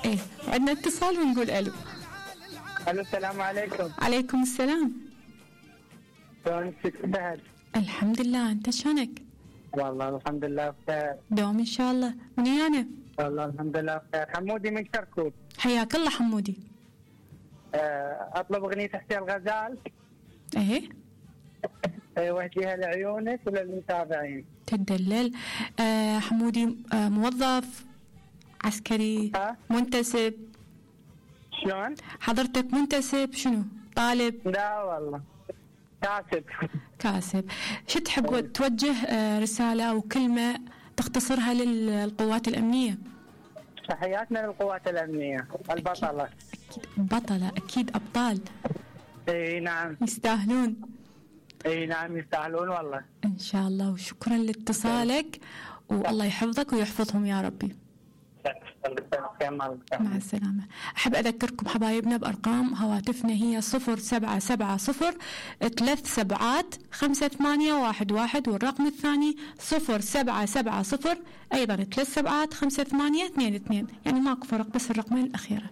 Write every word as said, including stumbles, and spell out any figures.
ايه عندنا اتصال ونقول الو. الو السلام عليكم. عليكم السلام. شلونك ست؟ الحمد لله، انت شلونك؟ والله الحمد لله بخير. دوم ان شاء الله. من انا؟ والله الحمد لله بخير. حمودي من كركوك. حياك الله حمودي. أه اطلب اغنية حسين الغزال. ايه أه وجهها لعيونك وللمتابعين. تدلل. آه حمودي آه موظف عسكري ها؟ منتسب؟ شلون؟ حضرتك منتسب شنو؟ طالب؟ لا والله كاتب. كاسب. شو تحب توجه آه رسالة أو كلمة تختصرها للقوات الأمنية؟ تحياتنا للقوات الأمنية البطلة. أكيد بطلة، أكيد أبطال. اي نعم يستاهلون. اي نعم يستاهلون والله. إن شاء الله، وشكرا لاتصالك والله يحفظك ويحفظهم يا ربي. مع السلامة. أحب أذكركم حبايبنا بأرقام هواتفنا، هي صفر سبعة سبعة صفر ثلاث سبعات خمسة ثمانية واحد واحد، والرقم الثاني صفر سبعة سبعة صفر أيضا ثلاث سبعات خمسة ثمانية اثنين اثنين، يعني ماكو فرق بس الرقمين الأخيرة.